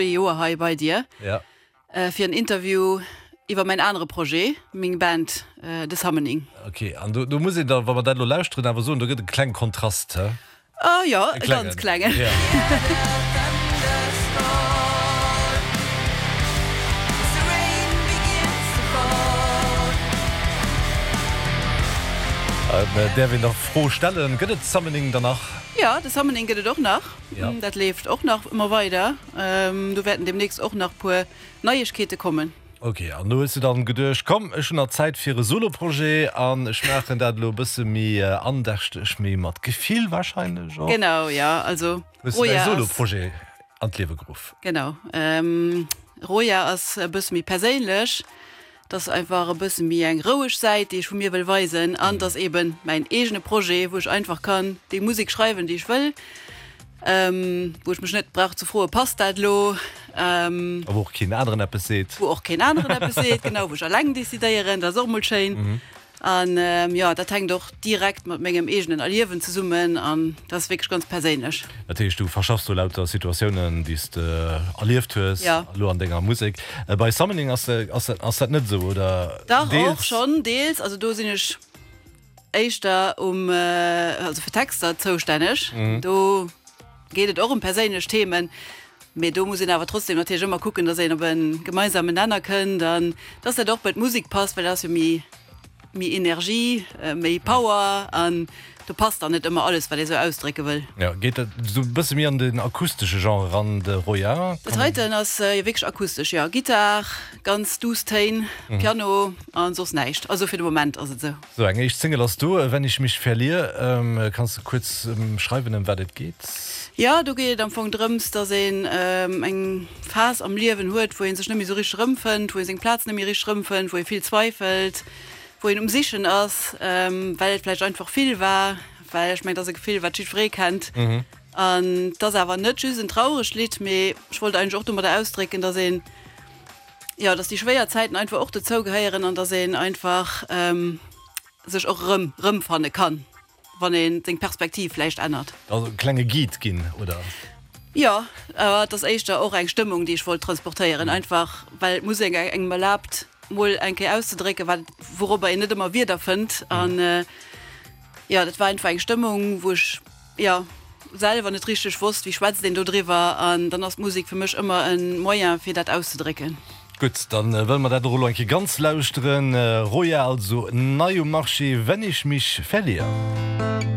Joer hei bei dir fir en Interview iwwer mäin anere Projet, meng Band The Summoning. Ok, an do muss een da, wa mer dat elo lauschteren, awer soen, do gëtt e klenge Kontrast, he? Oh jo, e ganz klengen. Däerf een der Fro stellen, gëtt et Summoning dann nach? Jo, The Summoning gëtt et och nach. Dat leeft och nach ëmmer weider. Do wäerten deemnächst och nach puer Neiegkeete kommen. Ok, an do hues du dann geduecht, komm ech hunn nach Zäit fir e Solo-Projet an ech maachen dat elo e bësse méi andächteg, méi mat Gefill warscheinlech och. Genau, jo, also Hues du däi Solo-Projet an d'Liewe geruff. Genau, Roya ass e bësse méi perséinlech. 't ass einfach e bësse méi eng roueg Säit, déi ech vu mir wëll weisen an 't ass eben mäin eegene Projet, wou ech einfach kann déi Musek schreiwen, déi ech wëll, wou ech mech net brauch ze froen, passt dat elo? A wou och keen aneren eppes seet. Wou och keen aneren eppes seet, genau, wou ech alleng decidéieren, dat ass och mol schéin. An jo, dat hänkt och direkt mat mengem eegenen Erliewen zesummen an dat ass wierklech ganz perséinlech. Dat heescht, du verschaffs do lauter Situatiounen, déi s de erlieft hues, elo an denger Musek. Bei Summoning ass ass dat net esou, oder? Dach, och schonn deels. Also do sinn ech éischter um, also fir Texter zoustänneg. Do geet et och ëm perséinlech Themen, mee do muss een awer trotzdem natierlech ëmmer kucken, datt een op e gemeinsamen Nenner kënnt an datt dat och bei d'Musek passt, well dat ass jo méi méi Energie, méi Power an do passt dann net ëmmer alles, wat ee sou ausdrécke wëll. Jo, geet dat esou e bësse méi an den akustesche Genre eran, de Roya? Dat heiten ass jo wierklech akustesch, jo. Gittar, ganz duuss Téin, Piano a soss näischt. Also fir de Moment ass et esou. Sou, eng éischt Single ass do, Wenn ich mich verlier. Kanns de kuerz schreiwen, ëm wat et geet? Jo, do geet et am Fong drëms, dass een eng Phas am Liewen huet, wou ee sech net méi esou richteg erëmfënnt, wou ee seng Plaz net méi richteg erëmfënnt, wou ee vill zweifelt, wou een um Sichen ass, well et vläicht einfach vill war. Well ech mengen, et ass e Gefill, wat jiddweree kennt. An et ass awer net just en trauregt Lidd, mee ech wollt eigentlech och domadder ausdrécken, dass een, jo, dass déi schwéier Zäiten einfach och dozou gehéieren an dass een einfach sech och erëm erëmfanne kann. Wann een seng Perspektiv vläicht ännert. Also e klenge Guide ginn, oder? Jo, awer et ass éischter och eng Stëmmung, déi ech wollt transportéieren. Einfach well d'Musek engem erlaabt, mol eng Kéier auszedrécken, wat, wourobber een net ëmmer Wierder fënnt. An jo, dat war einfach eng Stëmmung, wou ech, jo, selwer net richteg wosst, wéi schwätzt een do driwwer. An dann ass d'Musek fir mech ëmmer e Moyen, fir dat auszedrécken. Gutt, dann wëlle mer dat och elo eng Kéier ganz lauschteren. Roya also nei um Marché, Wenn ich mich verlier.